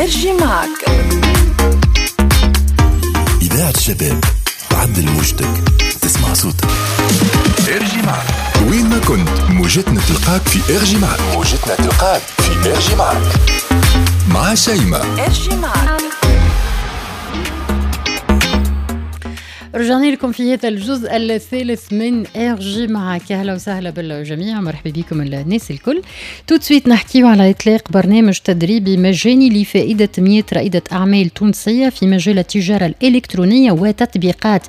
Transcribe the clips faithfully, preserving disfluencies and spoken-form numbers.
ارجي معك. إذاعة الشباب تعدل موجتك تسمع صوتك. ارجي معك وين ما كنت، موجتنا تلقاك في ارجي معك. موجتنا تلقاك في ارجي معك مع شيماء. ارجي معك. رجعنا لكم في هذا الجزء الثالث من ارجي معك. اهلا وسهلا بالجميع، مرحبا بكم الناس الكل. tout de suite نحكيو على اطلاق برنامج تدريبي مجاني لفائدة مئة رائدة اعمال تونسية في مجال التجارة الالكترونية وتطبيقات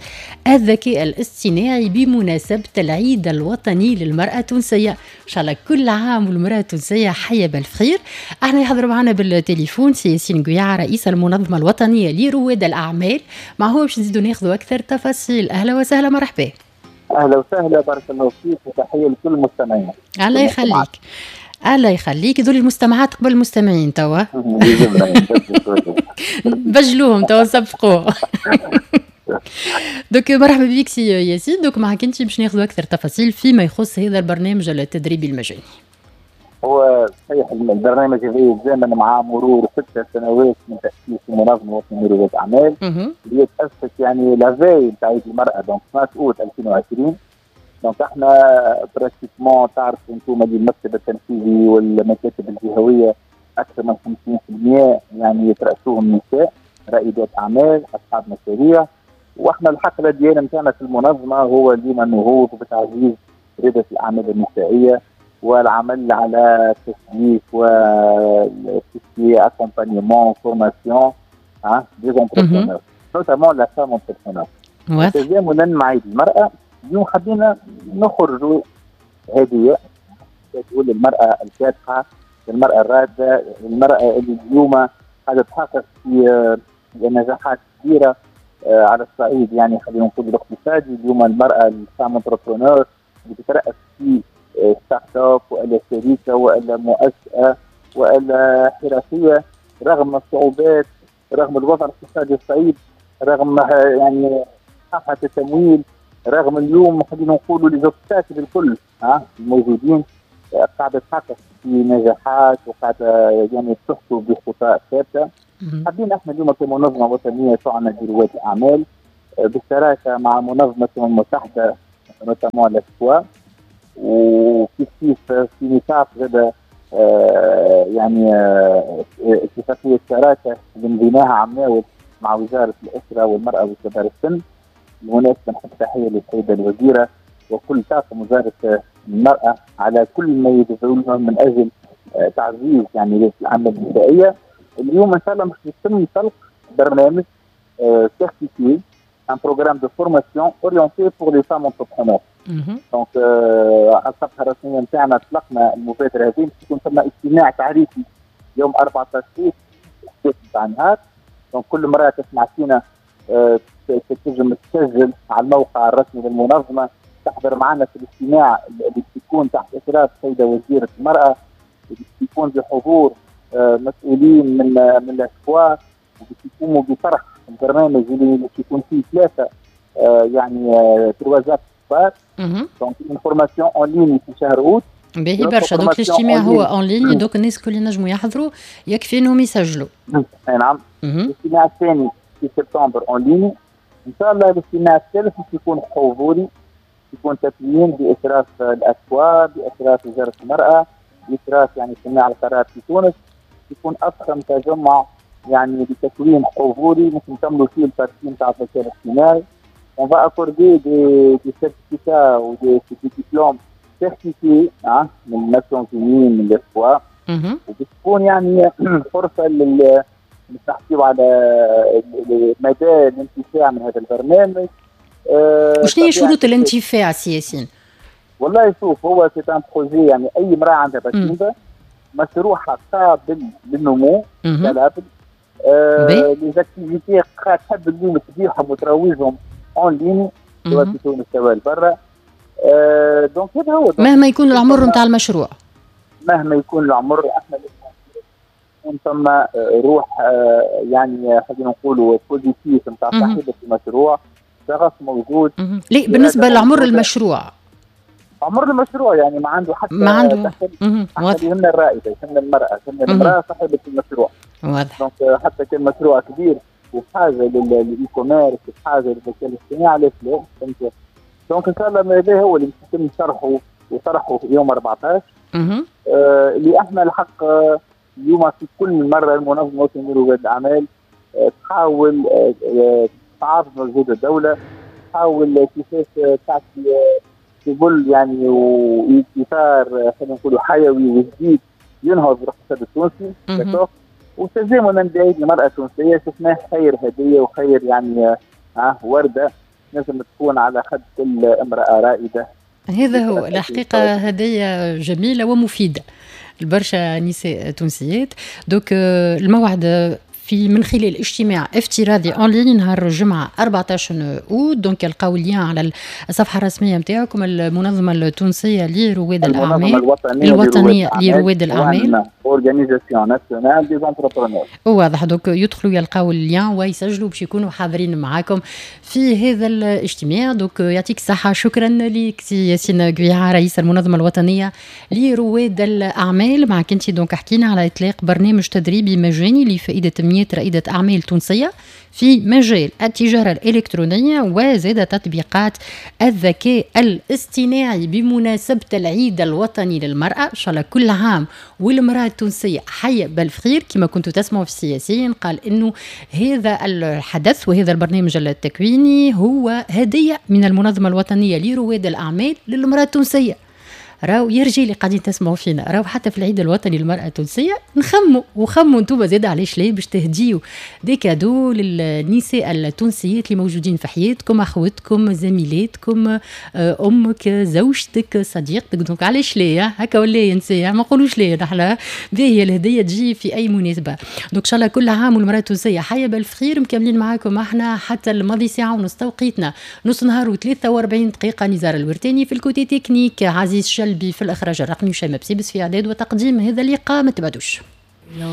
الذكاء الاصطناعي بمناسبة العيد الوطني للمراة التونسية. ان شاء الله كل عام والمراة التونسية حيه بالخير. احنا يحضر معنا بالتليفون سي ياسين قويعه، رئيس المنظمة الوطنية لرواد الاعمال، مع هو باش نزيدوا ناخذوا اكثر تفاصيل. اهلا وسهلا، مرحبا. اهلا وسهلا، بارك الله فيك وتحية لكل المستمعين. الله يخليك، الله يخليك. ذول المستمعات قبل المستمعين توا بجلوهم توا سبقوه. donc مرحبا بك سي ياسين. donc معك انت باش ناخذ اكثر تفاصيل فيما يخص هذا البرنامج التدريبي المجاني. هو صحيح البرنامج هذا يتزامن مع مرور ست سنوات من تاسيس المنظمة الوطنية لرواد الاعمال، اللي تاسست يعني la veille نتاع عيد المراة، donc اثناش اوت ألفين وعشرين. donc احنا pratiquement تعرفوا انتم اللي المكتب التنفيذي والمكاتب الجهوية اكثر من خمسين بالمئة يعني يترأسوهم نساء رائدات اعمال اصحاب مشاريع. واحنا الحقله ديالنا نتاعنا في المنظمة هو ديما النهوض وبتعزيز رياده الاعمال النسائية والعمل على تسويق و accompagnement formation des entrepreneurs notamment la femme entrepreneur. تزامنا مع عيد المرأة اليوم حبينا نخرجوا هدية تقول للمرأة الكادحة، للمرأة الرادة، للمرأة اللي اليوم قاعدة تحقق في نجاحات كبيرة على الصعيد، يعني خلينا نقول الاقتصادي. اليوم المرأة ال femme entrepreneur اللي تترأس في start-up والا شركة والا مؤسسة والا حرفية، رغم الصعوبات، رغم الوضع الاقتصادي الصعيب، رغم يعني صحة التمويل، رغم اليوم خلينا نقولوا les obstacles الكل ها الموجودين، قاعدة تحقق في نجاحات وقاعدة يعني تخطو بخطى ثابتة. حابين احنا اليوم كمنظمه وطنية تعنى برواد الاعمال بالشراكة مع منظمة الامم المتحدة notamment l'AFCOA، وكيف كيف في نطاق هذا آه يعني آه اتفاقية شراكة اللي مضيناها عمناول مع وزارة الاسرة والمراة وكبار السن. بالمناسبة نحب تحية للسيدة الوزيرة وكل طاقم وزارة المراة على كل ما يبذلونه من اجل آه تعزيز يعني العمل النسائية. اليوم ان شاء الله باش يتم طلق برنامج certifié، un programme de formation orienté pour les femmes entrepreneurs. donc على الصفحة الرسمية نتاعنا اطلقنا المبادرة هذه، باش يكون ثم اجتماع تعريفي يوم أربعة عشر اوت نتاع النهار. donc كل امراة تسمع فينا تنجم تسجل على الموقع الرسمي للمنظمة، تحضر معنا في الاجتماع اللي بيكون تحت اشراف السيدة وزيره المراة، اللي بيكون بحضور مسؤولين من من l'AFCOA، وباش يقوموا بطرح البرنامج اللي باش يكون فيه ثلاثة يعني trois axes كبار. donc une formation en ligne في شهر اوت. باهي برشا. donc الاجتماع هو en ligne، donc الناس الكل ينجموا يحضروا، يكفي انهم يسجلوا. اي نعم. الاجتماع الثاني في سبتمبر en ligne. ان شاء الله الاجتماع الثالث باش يكون حضوري، يكون تكوين باشراف l'AFCOA، باشراف وزارة المراة، باشراف يعني صناع القرار في تونس. يكون اضخم تجمع يعني بتكوين حضوري ممكن نكملوا فيه ال partie نتاع الذكاء الاصطناعي. On va accorder des, des certificats ou des, des diplômes certifiés hein, من Nations Unies من l'AFCOA. وبتكون يعني فرصة لل نحكيو على مدى الانتفاع من هذا البرنامج. وشنو هي شروط الانتفاع سي ياسين؟ والله شوف، هو c'est un projet يعني اي امراة عندها باتيندا مشروعها قابل للنمو scalable، les activités تحب اليوم تبيعهم وتروجهم en ligne سواء في تونس سواء برا. آه donc هذا هو. مهما يكون العمر نتاع المشروع، مهما يكون العمر، احنا يكون ثم روح يعني خلينا نقولوا positive نتاع صاحبه المشروع، شغف موجود. ليه بالنسبة لعمر المشروع؟ عمر المشروع يعني ما عنده حتى ما عنده يهمنا الرائدة، يهمنا المراة، يهمنا المراة صاحبه المشروع. واضح. donc حتى كان مشروع كبير وحاجه لل e-commerce، وحاجه للذكاء الاصطناعي، علاش لا؟ فهمت؟ donc ان شاء الله هذا هو اللي يتم شرحه وطرحه في يوم أربعطاش. آه اللي احنا الحق آه، اليوم في كل مرة المنظمة الوطنية لرواد الاعمال آه تحاول آه، آه، تعرض مجهود الدوله، تحاول كيفاش تعطي سبل يعني واطار خلينا نقولوا حيوي وجديد ينهض بالاقتصاد التونسي. وتزامنا بعيد المراة التونسية شفناه خير هديه وخير يعني آه ورده لازم تكون على خد كل امراة رائده. هذا هو الحقيقة، هدية جميلة ومفيدة لبرشا نساء تونسيات. donc آه، الموعد في من خلال اجتماع افتراضي en ligne نهار الجمعة أربعطاش اوت. donc يلقاو ال lien على الصفحة الرسمية نتاعكم، المنظمة التونسية لرواد الاعمال، الوطنية, الوطنية لرواد الاعمال. organisation nationale des entrepreneurs. واضح. donc يدخلوا يلقاو ال lien ويسجلوا باش يكونوا حاضرين معاكم في هذا الاجتماع. donc يعطيك الصحه، شكرا لك سي ياسين قويعه، رئيس المنظمة الوطنية لرواد الاعمال. معك انت donc حكينا على اطلاق برنامج تدريبي مجاني لفائدة مئة رائدة أعمال تونسية في مجال التجارة الإلكترونية وزاد تطبيقات الذكاء الاصطناعي بمناسبة العيد الوطني للمرأة. إن شاء الله كل عام والمرأة التونسية حية بالف خير. كما كنتوا تسمعوا في سي ياسين، قال إنه هذا الحدث وهذا البرنامج التكويني هو هدية من المنظمة الوطنية لرواد الأعمال للمرأة التونسية. راهو يا رجال اللي قاعدين تسمعوا فينا، راهو حتى في العيد الوطني للمرأة التونسية نخموا وخموا انتم زاد، علاش لا، باش تهديوا des cadeaux للنساء التونسيات اللي موجودين في حياتكم، اخوتكم، زميلاتكم، آه، امك، زوجتك، صديقتك. donc علاش لا؟ هكا ولا يا نساء؟ ما نقولوش لا نحن، باهيه الهدية تجي في اي مناسبه. donc ان شاء الله كل عام والمراة التونسية حيه بالف خير. مكملين معاكم احنا حتى الماضي ساعة ونص، توقيتنا نص نهار وثلاثة وأربعين دقيقه. نزار الورتاني في ال côté technique، عزيز شلبي في الاخراج الرقمي، وشيماء بسيبس في اعداد وتقديم هذا اللقاء. ما تبعدوش.